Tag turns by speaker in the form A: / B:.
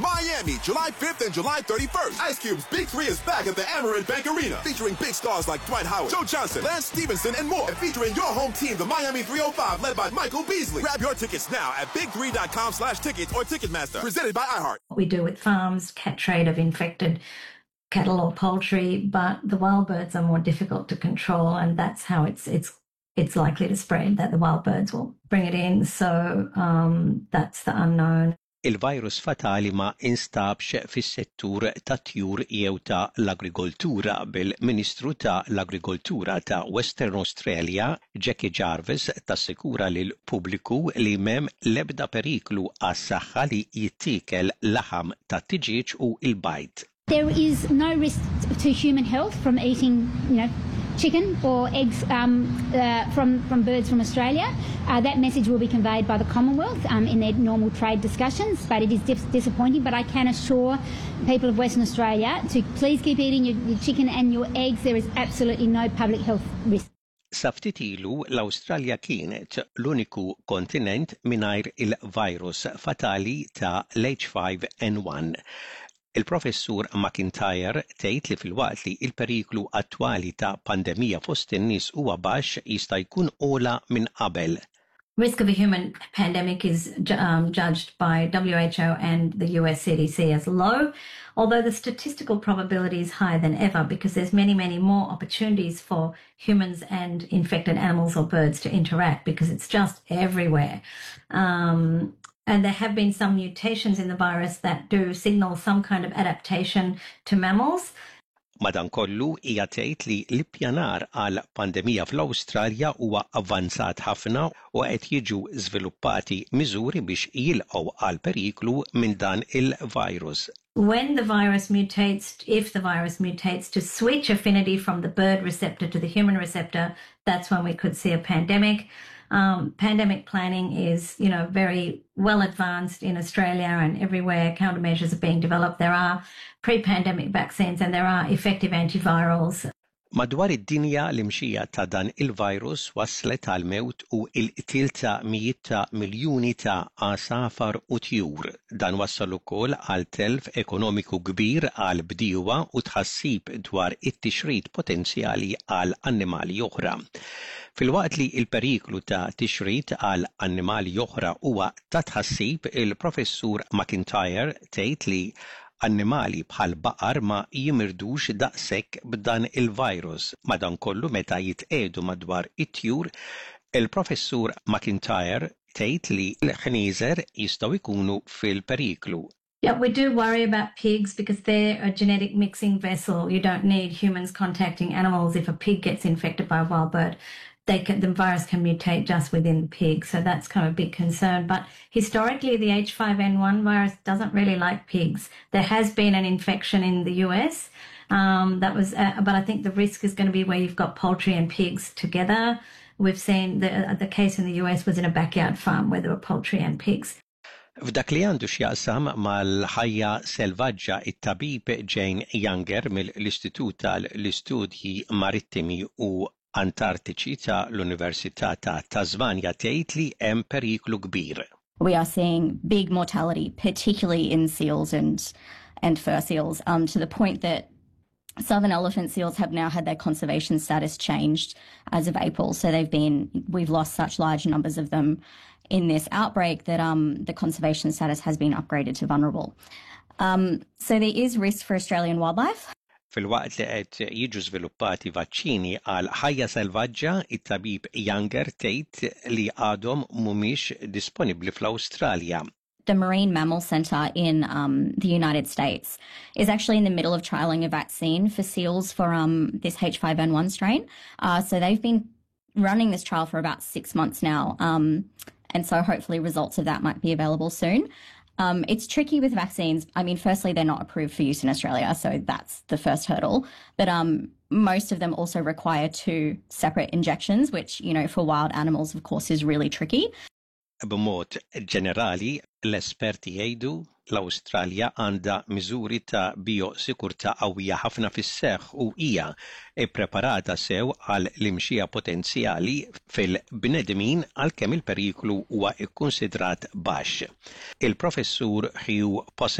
A: Miami, July 5th and July 31st. Ice Cube's Big 3 is back at the Amerant Bank Arena, featuring big stars like Dwight Howard, Joe Johnson, Lance Stephenson, and more. And featuring your home team, the Miami 305, led by Michael Beasley. Grab your tickets now at big3.com/tickets or Ticketmaster. Presented by iHeart.
B: What we do with farms, cat trade of infected cattle or poultry, but the wild birds are more difficult to control, and that's how it's likely to spread, that the wild birds will bring it in. So that's the unknown.
C: Il-virus fatali ma instabx fis-settur tat-tjur jew ta' l-agrikoltura, bil-Ministru ta' l-Agrikoltura ta' Western Australia, Jackie Jarvis, tassikura lil pubbliku li m'hemm l-ebda periklu għas-saħħa li jittiekel laħam ta' tiġieġ u il-bajd.
D: There is no risk to human health from eating chicken or eggs from birds from Australia. That message will be conveyed by the Commonwealth in their normal trade discussions, but it is disappointing. But I can assure people of Western Australia to please keep eating your chicken and your eggs. There is absolutely no public health risk.
C: Sa ftit ilu, l-Awstralja kienet l-uniku kontinent mingħajr il-virus fatali ta' l-H5N1. Il-professur McIntyre tgħid li filwaqt li il-periklu attwali ta' pandemija fost in-nies huwa baxx, jista' jkun ogħla minn qabel.
B: Risk of a human pandemic is judged by WHO and the US CDC as low, although the statistical probability is higher than ever because there's many, many more opportunities for humans and infected animals or birds to interact because it's just everywhere. And there have been some mutations in the virus that do signal some kind of adaptation to mammals.
C: Madankollu, hija tgħid li l-ippjanar għal pandemija fl-Awstralja huwa avvanzat ħafna u qed jiġu żviluppati miżuri biex jilqgħu għal periklu minn dan il-virus.
B: When the virus mutates, if the virus mutates to switch affinity from the bird receptor to the human receptor, that's when we could see a pandemic. Pandemic planning is very well advanced in Australia and everywhere. Countermeasures are being developed. There are pre-pandemic vaccines and there are effective antivirals.
C: Madwar id-dinja, l-imxija ta' dan il-virus waslet għal mewt u il-qtil ta' mijiet ta' miljuni ta' għasafar u tjur. Dan wassal ukoll għal telf ekonomiku kbir għal bdiewa u tħassib dwar it-tixrid potenzjali għal annimali oħra. Filwaqt li il-periklu ta' tixrid għal annimali oħra huwa ta' tħassib, il-professur McIntyre tgħid li annimali bħal baqar ma jimirdux daqshekk b'dan il-virus. Madankollu, meta jitqiegħdu madwar it-tjur, il-professur McIntyre tgħid li l-ħnieżer jistgħu jkunu fil-periklu.
B: Yeah, we do worry about pigs because they're a genetic mixing vessel. You don't need humans contacting animals. If a pig gets infected by a wild bird, the virus can mutate just within the pig. So that's kind of a big concern. But historically, the H5N1 virus doesn't really like pigs. There has been an infection in the US. But I think the risk is going to be where you've got poultry and pigs together. We've seen the case in the US was in a backyard farm where there were poultry and pigs.
C: F'dak li għandu x'jaqsam mal-ħajja selvaġġa, it-tabib Jane Younger mill-Istitut tal-Istudji Marittimi u Antartiċi ta' l-Università ta' Tasmania tgħid li hemm periklu kbir.
E: We are seeing big mortality, particularly in seals and fur seals, to the point that southern elephant seals have now had their conservation status changed as of April. So we've lost such large numbers of them in this outbreak that the conservation status has been upgraded to vulnerable. So there is risk for Australian wildlife.
C: Filwaqt li qed jiġu żviluppati vaċċini għal ħajja selvaġġa, it-tabib Younger tgħid li għadhom mhumiex disponibbli fl-Awstralja.
E: The Marine Mammal Center in the United States is actually in the middle of trialing a vaccine for seals for this H5N1 strain. So they've been running this trial for about 6 months now. And so hopefully results of that might be available soon. It's tricky with vaccines. I mean, firstly, they're not approved for use in Australia, so that's the first hurdle. But most of them also require two separate injections, which for wild animals, of course, is really tricky.
C: B'mod ġenerali, l-esperti jgħidu l-Awstralja għandha miżuri ta' biosikurtà qawwija ħafna fis-seħħ u hija ippreparata sew għal l-imxija potenzjali fil-bnedmin, għalkemm il-periklu huwa kkunsidrat baxx. Il-professur Hugh Possing